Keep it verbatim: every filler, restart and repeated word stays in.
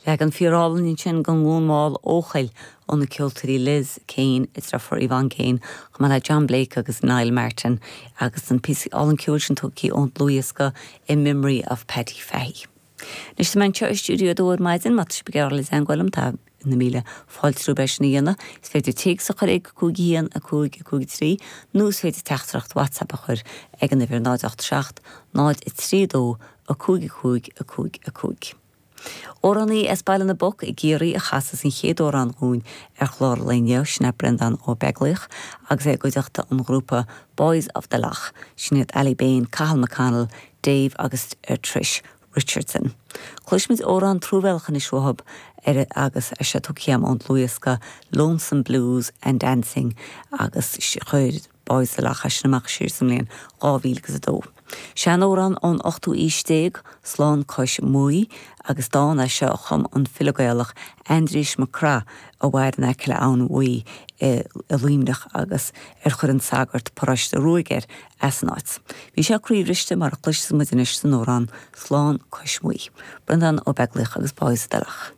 Leagan fíorálainn ansin den Ghlúin Mhall Eochaill ó na ceoltóirí Liz Kane is deirfiúr Yvonne Kane, chomh maith le John Blake agus Niall Martin agus an píosa álainn ceoil sin tugtha ón dlúthdhiosca In Memory of Paddy Fahey. Anois tá mé anseo i stiúideo a dó ar maidin má tá sibh le teagmháil liom tá na míle fáilte romhaibh é sin a dhéanamh, is féidir téacs a chur ag cúig haon a cúig a cúig trí, nó is féidir teachtaireacht WhatsApp a chur ag an uimhir náid ocht seacht, náid a trí dó a cúig a cúig a cúig a cúig. Amhránaí as Baile na bPoc i gCiarraí a chasas an chéad amhrán dúinn ar chlár inniu sin é Breandán Ó Beaglaoich agus é i gcuideachta an ghrúpa Boys of the Lough, sin iad Ali Bain, Cathal McConnell, Dave agus uh, Trish Richardson. Cloisfimid amhrán truamhéalach anois uathub ar agus é seo tugtha ón dlúthdhiosca Lonesome Blues and Dancing agus chuir Boys of the Lough sin amach siar sa mbliain dhá mhíle agus a dó. Seanamhrán ón ochtú haois déag Slán Cois Muaidhe agus dán é seo a chum an file Gaelach Aindrias Mac Craith a mhair in aice le Abhainn Bhuí i Luimneach agus ar chuir an sagart paróiste ruaig air as an áit. Bhí sé croíbhriste mar a chloisfimid anois san amhrán Slán Cois Muaidhe. Breandán Ó Beaglaoich agus Boys of the Lough.